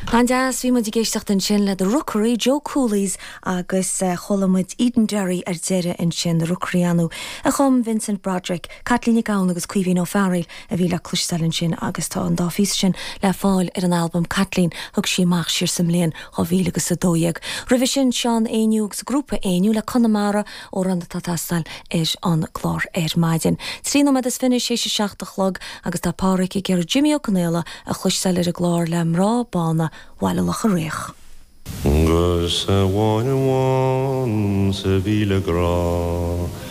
An-deas, bhí muid ag éisteacht ansin le The Rookery, Joe Cooley's agus chuala muid Edenderry ar deireadh ansin, The Rookery ar ndóigh a chum Vincent Broderick, Caitlín Nic Gabhann agus Caoimhín Ó Fearghaíl a bhí le cloisteáil ansin agus tá an dá phíosa sin le fáil ar an albam Caitlín thug sí amach siar sa mbliain 2000 agus 12. Roimhe sin Seán Éinniú agus Grúpa Éinniú le Conamara, amhrán atá ag teastáil ar an gclár ar maidin. 23 nóiméad théis a 7 a chlog agus tá Pádhraic ag iarraidh Jimí Ó Conaola a chloisteáil ar an gclár le Mná Bána Bhaile Locha Riach. 'Gus amháin amháin sa mhíle grá.